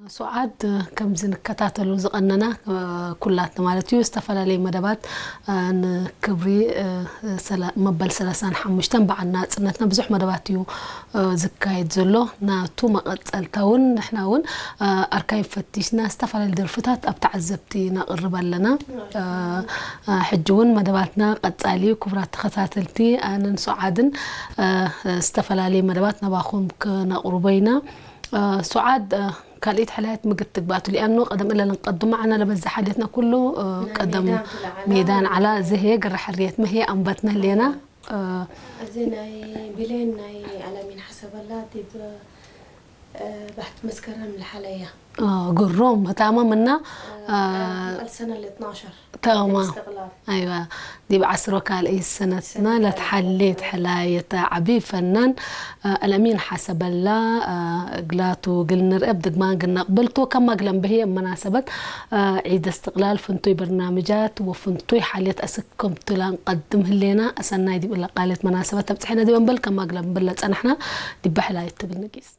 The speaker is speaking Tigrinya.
ሱዓድ፣ ከምዚ ንከታተሉ ዝቐነና ኩላትና ማለት እዩ፣ ዝተፈላለዩ መደባት ንክብሪ መበል ሰላሳን ሓሙሽተን በዓል ናጽነትና ብዙሕ መደባት እዩ ዝካየድ ዘሎ። ናቱ መቐጸልታ እውን ንሕና እውን ኣርካይቭ ፈቲሽና ዝተፈላለዩ ደርፍታት ኣብ ተዓዘብቲ ነቕርብ ኣለና። ሕጂ እውን መደባትና ቀጻሊ እዩ። ክቡራት ተኸታተልቲ፣ ኣነን ሱዓድን ዝተፈላለዩ መደባት ናባኹም ክነቕርቦ ኢና። ሱዓድ፣ ካልኢት ሕላየት ምግት ትግባቱ ሊኣኖ ቀደም እለ ለንቀዱ ማዕና ለበዛ ሓልየትና ኩሉ ቀደም ሜዳን ዓላ ዝህየ ግራ ሕርየት መህየ ኣንባትና ህልየና። እዚ ናይ ብሌን ናይ ኣላሚን ሓሰበላ ዲብ ባሕቲ መስከረም ለሓለያ ግሮም ህታማ ምና ቀልሰና ለ12 ተማ ኣይዋ ዲብ ዓስሮ ካልእይ ሰነትና ለትሓሌት ሕላየት ዓቢ ፈናን ኣልኣሚን ሓሰበላ እግላቱ ግል ንርአ ብድግማን ግነቕብል ቶ ከማግለን ብህየ መናሰበት ዒድ እስትቕላል ፍንቱይ በርናምጃት ወፍንቱይ ሓልየት ኣስከምቱላ ንቐድም ህሌና። ኣሰናይ ዲብ እለ ቃልየት መናሰበት ተብጽሐና ዲበ እምበል ከማግለን ብለ ጸናሕና ዲበ ሕላየት ትብል ንጊስ።